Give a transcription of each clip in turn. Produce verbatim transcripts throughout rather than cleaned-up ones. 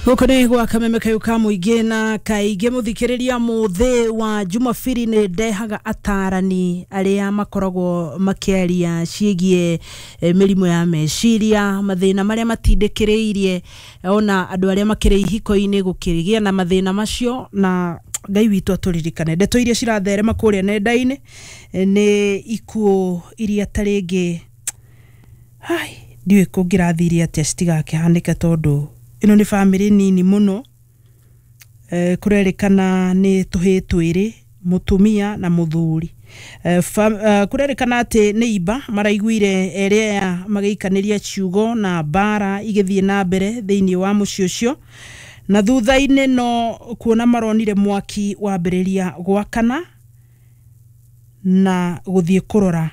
Gũkũ nĩ gwa Kameme kayũ ka mũingĩ, na kaingĩ mũthikĩrĩria, mũthĩ wa Jumabiri nĩ ndehaga atarani arĩa makoragwo makĩaria ciĩgiĩ eh, mĩrimũ ya meciria, mathĩna marĩa matindĩkĩrĩirie ona andũ arĩa makĩrĩ ihiko-inĩ gũkĩgĩa na mathĩna macio. Na Ngai witũ atũririkane. Ndeto iria ciratherema kũrĩa nenda-inĩ eh, nĩ ikuũ iria ta rĩngĩ, ai, ndiũĩ kũngĩrathire atĩa citigakĩhanĩke, tondũ ĩno nĩ bamĩrĩ nini mũno. eh, kũrerĩkana nĩ tũhĩĩ twĩrĩ, mũtumia na mũthuri. Eh, fa- eh, kũrerĩkana atĩ nĩ imba maraiguire erĩ aya magĩikanĩria ciugo na mbara igĩthiĩ na mbere thĩinĩ wa mũciĩ ũcio, na thutha-inĩ no kuona maronire mwaki wambĩrĩria gwakana na gũthiĩ kũrora.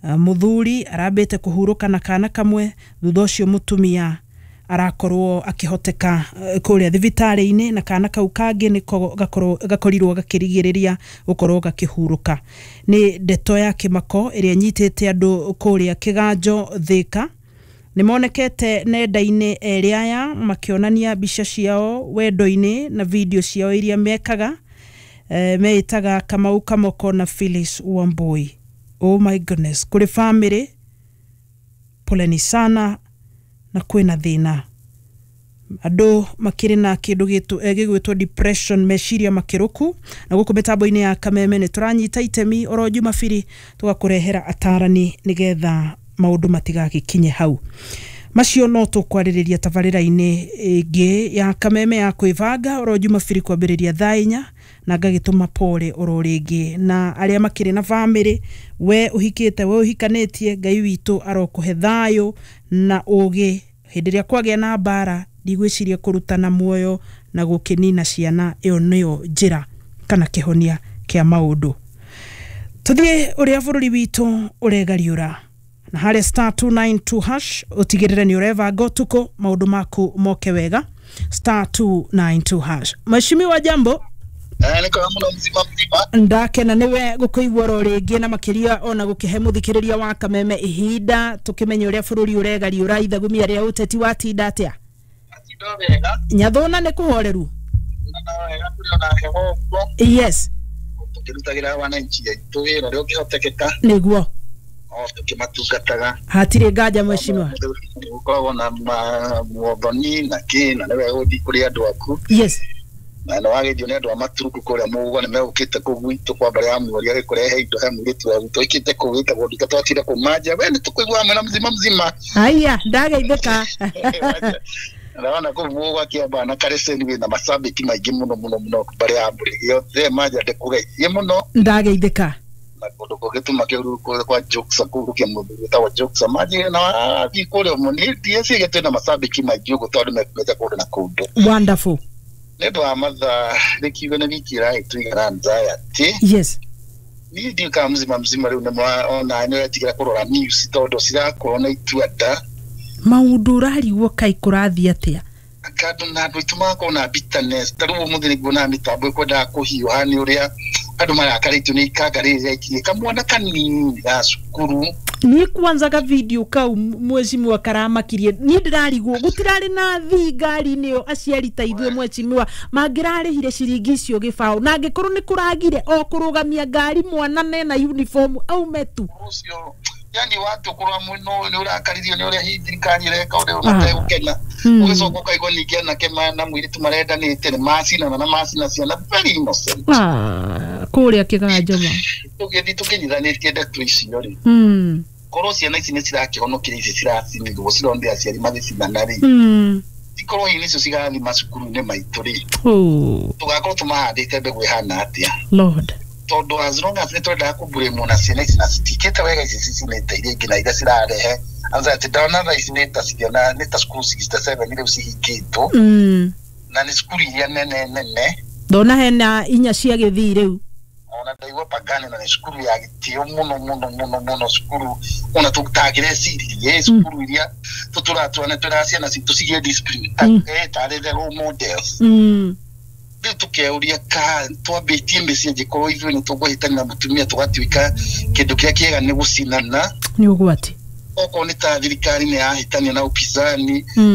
Uh, mũthuri arambĩte kũhurũka na kana kamwe, thutha ũcio mũtumia arakorwo akĩhoteka eh, kũrĩa thibitarĩ-inĩ, na kana kau kangĩ nĩko gakorwo- gakorirwo gakĩrigĩrĩria gũkorwo gakĩhurũka. Nĩ ndeto ya kĩmako ĩrĩa ĩnyitĩte andũ kũrĩa Kĩganjo, Thĩka. Nĩ monekete nenda-inĩ erĩ aya makĩonania mbica ciao wendo-inĩ na video ciao iria mekaga. eh, meĩtaga Kamau Kamoko na Phyllis Wambui. Oh my goodness, kũrĩ family, poleni sana, na kwĩna thĩna, andũ makĩrĩ na kĩndũ gĩtũ- eh, gĩgwĩtwo depression, meciria makĩrũku. Na gũkũ mĩtambo-inĩ ya Kameme nĩ tũranyita itemi oro Jumabiri tũgakũrehera atarani nĩgetha maũndũ matigagĩkinye hau. Macio no tũkwarĩrĩria tabarĩra-inĩ ĩngĩ ya Kameme ya kwĩbanga oro Jumabiri kwambĩrĩria thaa inya, na ngagĩtũma pole oro rĩngĩ na arĩa makĩrĩ na bamĩrĩ. We ũhikĩte, we ũhikanĩtie, Ngai witũ arokũhe thayũ na ũgĩ hĩndĩ ĩrĩa kwagĩa na mbara. Ndigwĩciria kũrutana muoyo na gũkĩnina ciana ĩyo nĩyo njĩra kana kĩhonia kĩa maũndũ. Tũthiĩ ũrĩa bũrũri witũ ũregariũra, na harĩa star two nine two hash ũtigĩrĩre nĩ ũrebanga ũtukũ maũndũ maku moke wega, star two nine two hash. Mheshimiwa, jambo. Eh, niko muno, mzima mzima. Ndakena niwe gũkũigua oro rĩngĩ, na makĩria ona gũkĩhe mũthikĩrĩria wa Kameme ihinda tũkĩmenye ũrĩa bũrũri ũregariũra. Ithagumia rĩa ũteti, watinda atĩa? Ndo wega. Nyathũna nĩ kũhoreru? Na wega, kũrĩ ona heho ũguo. Yes. Tũkĩrutagĩra wananchi aitũ wĩra ũrĩa ũngĩhotekeka. Nĩguo. O tũkĩmatungataga. Hatirĩ nganja, mheshimiwa. Gũkoragwo na ma- muothoni na kĩ, na nĩ wega gũthiĩ kũrĩ andũ aku. Yes. Na nĩ wagĩthio nĩ andũ a Maturuku kũrĩa mũguo nĩ megũkĩte kũu gwitũ kwa mbere ya mweri agĩkũrehe indo he mũirĩtu wa gwitũ oikĩte kũu wĩtagwo nduka twatire kũu manja we nĩ tũkũigua mwena mzima mzima. Haya, ndageithĩka. Naona kũu mũgwa kĩamba na kareceni wĩna macambĩki maingĩ mũno mũno mũno mbere ya mbũrĩ yothe manja ndĩkũgeithie mũno. Ndageithĩka. Na kũndũ kũngĩ tuma kĩuru kwa Jokes kũu kĩa mũndũ wĩtagwo Jokes manji na wathiĩ kũrĩa mũno ndieciria twĩna macambĩki maingĩ ũguo tondũ mekumĩte kũndũ na kũndũ. Wonderful. Nĩ ũndũ wa mathaa rĩkiuga nĩ wiki ĩrahĩtũigana anxiety. Yes. Niĩ ndiũĩ kana mzima mzima rĩu nĩ ona nĩ ũretigĩra kũrora news tondũ cirakorwo na itua nda. Maũndũ ũrarigwo kai kũrathiĩ atĩa. Kandũ na andũ aitũ magakorwo na bitterness. Ta rĩu ũmũthĩ nĩguo mĩtambo ĩkwendaga kũhiũha nĩ ũrĩa andũ marakarĩtio nĩ ikanga rĩrĩ rĩaikirie kamwana kanini ga cukuru. Niĩ kwanza ka video kau, mheshimiwa, karamakirie. Niĩ ndĩrarigwo gũtirarĩ na thii ngari-inĩ ĩyo. Aciari ta ithuĩ, mheshimiwa, mangĩrarĩhire ciringi icio gĩbaũ, na angĩkorwo nĩ kũragire o kũrũgamia ngari mwana nena uniform aume tu. Ũcio yani watu kũrora mũno nĩ ũrakaririo nĩ ũrĩa hihi thirikari ĩreka ũrĩa mategũkena. Mm. Ũgĩcoka ũkaigua ningĩ anake ma- na mũirĩtu marendanĩte nĩ macinana na macina ciana very innocent. Ah, kũrĩa Kĩganjo ma. Tũgĩthiĩ tũkĩnyithanĩtie ndeto icio rĩ, Mm. korwo ciana ici nĩ cirakĩhonokire ici ciracinirwo cironire aciari magĩcinana rĩ, Mm. ikorwo hihi nĩcio cigathiĩ macukuru-inĩ maitũ rĩ, Oh, tũgakorwo tũmahandĩte mbegũ ĩhana atĩa? Lord. Tondũ as long as nĩ twendaga kũmburĩmwo na ciana ici na citikĩte wega, ici cicinĩte iria ingĩ na iria cirarehe anxiety, ndona thaa ici nĩ ta ciana nĩ ta cukuru sixty-seven rĩu cihingĩtwo, Mm. na nĩ cukuru iria nene nene. Ndona hena inya cia gĩthii rĩu. Ona ndaigua Pagani na nĩ cukuru ya gĩtĩo mũno mũno mũno mũno, cukuru ona tũtangĩreciririe, cukuru iria tũtũraga twana twĩraga ciana citũ cigĩe discipline ta Mm. eh, tarĩ the role models. Mm. Rĩu tũkeuria ka twambĩtie mĩciĩ angĩkorwo ithuĩ nĩ tũkũhĩtania na mũtumia tũgatuĩka kĩndũ kĩrĩa kĩega nĩ gũcinana. Nĩ ũgwati. Okorwo nĩ ta thirikari nĩ yahĩtania na upinzani. Mm.